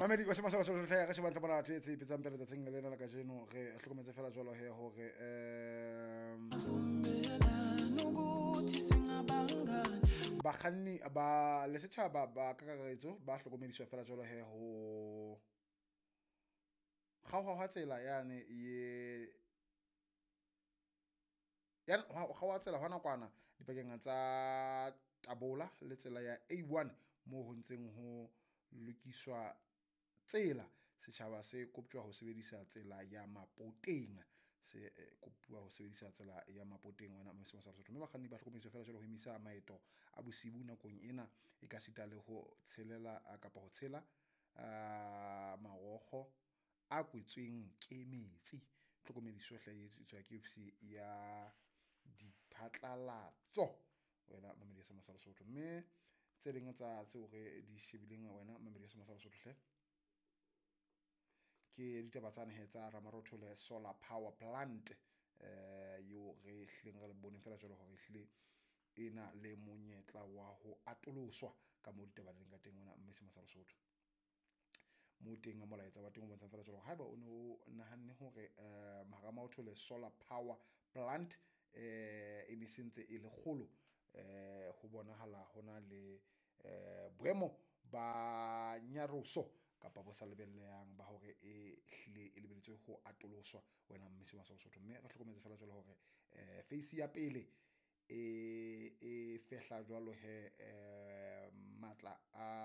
Mamedi wa sema sa Lesotho hle, re shebang tlabona tse tse ipetsang pele tsatsing lena la kajeno. Re hlokometse fela jwalo he hore Vumelana ukuthi singabangani. Bakganni ba le setjhaba ba kakaretso ba hlokomediswa fela jwalo he ho kgaoha hwa tsela yane ye ya ho kgaoha tsela hwa nakwana dipakeng tsa Tabola le tsela ya A1 moo ho ntseng ho lokiswa tsela. Setjhaba se koptjwa ho sebedisa tsela ya Mapoteng, se kopuwa ho sebedisa tsela ya Mapoteng, wena Mose sa Lesotho. Mme bakganni ba hlokomediswa fela jwalo ho emisa maeto a bosibu nakong ena, e ka sita le ho tshelela kapa ho tshela marokgo a kwetsweng ke metsi. Tlhokomediso hle e etswa ke ofisi ya diphatlalatso, wena mamedi ya Sema sa Lesotho. Mme tse ding tsa tseo re di shebileng, wena mamedi ya Sema sa Lesotho hle, ke ditaba tsane he tsa Ramarothole solar power plant, eo re hlileng re le boneng fela jwalo hore ehlile e na le monyetla wa ho atoloswa ka moo ditaba di leng ka teng, wena mme Sema sa Lesotho. Mo teng molaetsa wa teng o bontshang fela jwalo haeba o ne o nahanne hore Ramarothole solar power plant e ne sentse e le kgolo, ho bonahala hona le boemo ba nyaroso kapa bo sa lebellehang ba hore e hlile e lebelletswe ho atoloswa, wena mme Sema sa Lesotho. Mme re hlokometse fela jwalo hore phase ya pele e fehla jwalo he matla a